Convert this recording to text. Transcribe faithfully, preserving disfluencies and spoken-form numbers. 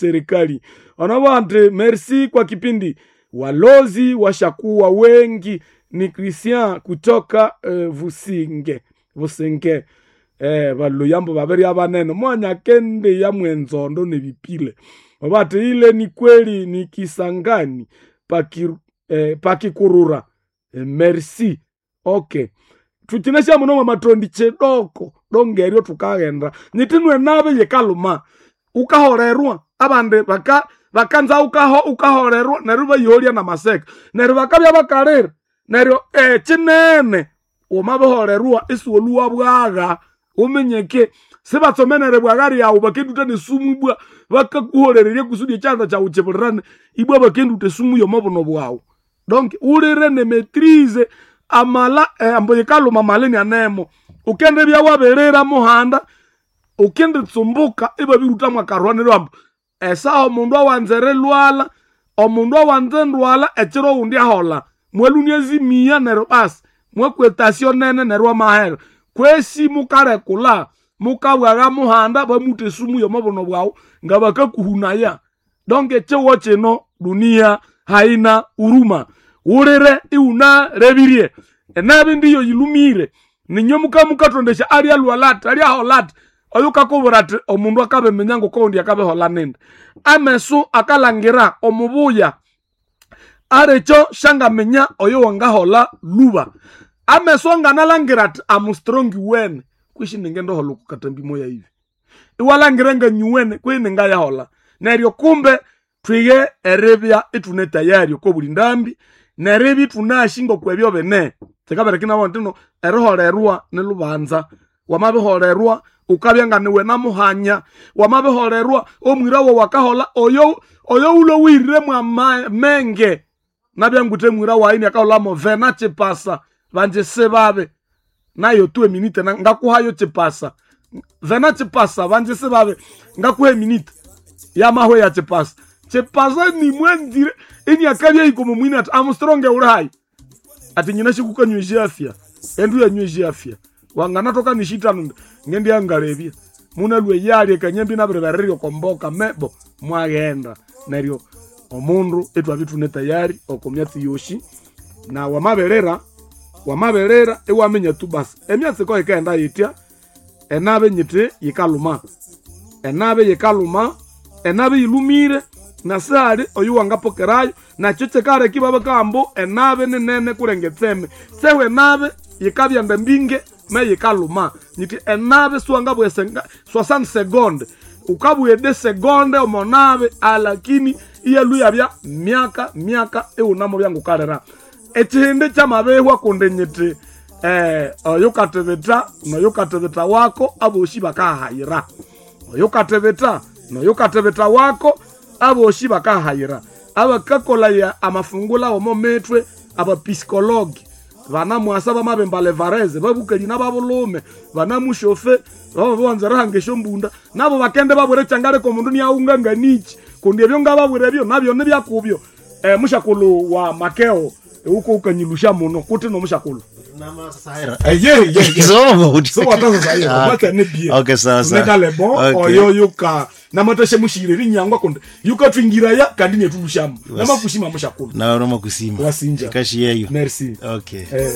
Serikali onabante merci kwa kipindi walozi washakuwa wengi. Ni Christian kutoka eh, Vusinge Vusinge eh, baluyambo babiri abanene mwanya kende ya mwenzondo nebipile obati ile ni kweli ni Kisangani paki, eh, pakikurura eh, merci okay tuchinesha muno mwa matondi chidoko dongeryo tukaghenda nyitinwe nabe yikaluma ukaholerwa abandi baka bakanza ukaho ukaholerwa neryo bayiholya na maseka neryo bakabya bakalira neryo ekinene wamabiholerwa isiwoluwa bwagha uminyeke sibatsomenere bwagha ryawu bakenduta nesumu ibwa bakakuholererya kusudi ekyanda kyawu kibulirane ibwa bakenduta esumu yomobuno bwawu donc ulire ne maitrise amala eh, ambo yikaluma malini anemo ukende byawabirira muhanda ukenditsumbuka ibabiruta akarwaniro ambo esaha omundu awanza erilwala omundu awanza endwala ekiro owundi ahola mwalunia ezimiya neryo basi mwakwetasyo nene neryo amahera kwesi mukarekula mukabwagha muhanda bamuta esumu yomobuno bwawu nga bakakuhunaya donc ekiwo kino dunia haina huruma wulire iwunarebirye enabi ndiyo yilumire ninyo mukamukatondesya alyalwala ati alyahola ati oyo kakubwira ati omundu akabiminya ngokoundi akabihola nindi amesu akalangira omubuya arekyo shangaminya oyo wangahola luba amesu anganalangira ati am strong wene kwishi ningendohola okukatambi moya ivi iwalangira nganyuwene kwi ningayahola neryo kumbe twige eribya ithune tayari okobuli ndambi neribya ithunasi ngokwebyo bene kikaberekinabo ntino eriholerwa nilubanza wamabiholerwa ukabya nga niwe namuhanya wamabiholerwa omwira wawu akahola oyo oyo ulowirire mwamenge nabyanguthe mwira wayi niakaholamo vena chipasa vanje sibabe nayo tu eminite na- ngakuhayo chipasa vena chipasa vanje sibabe ngakuha eminite yamahwe ya chipasa chipasa nimwenzire iniakabya ikomo mwini ati amstronge uli hayi ati nyina shikukanyweshi afya endu yanyweshi afya wanganatoka nishitano ngendi yangalebya munalwe yalye kanyembi nabiribereryo komboka mebo mwaghenda neryo omundu itwabya ithune tayari oko myatsi yoshi na wamaberera wamaberera iwaminya tu basi emyatsi ko yikaghenda yitya enabe nyiti yikaluma enabe yikaluma enabe yilumire nasali oyu wangapokerayo nakyo kyikaleka ibabakamba enabe ninene kulenga etseme sehu enabe yikabyenda mbinge me yikaluma nyiti enabe siwangabugha senga- soixante seconde ukabugha ede segonde omonabe alakini iyalu yabya myaka myaka iwunamo byangukalira ekihindi kyamabihwa kundi nyiti eh, oyu katibita noyu katibita wako abosi bakahayira oyu katibita noyu katibita wako abosi bakahayira abakakolaya amafungula omo mitwe abapisikologi vanamwasa vamavemba levareze vavukeli na vavulume vanamushofe vavavanza rihanga esyombunda navo vakende vavwire changaleko omundu niaunganganichi kundi ebyo ngavavwire ebyo navyo nibyakubyo eh, mushakulu wa makeo uko ukanyilusha muno kuti nomushakulu Okay, sawa, sawa. nekalebo Okay. oyo yuka namateshe mushire rinyangwa kundi yukatwingiraya kandi netulushamu namakushima mushakulu nawe nomakusima Wasinja. kashi yeyo merci okay eh.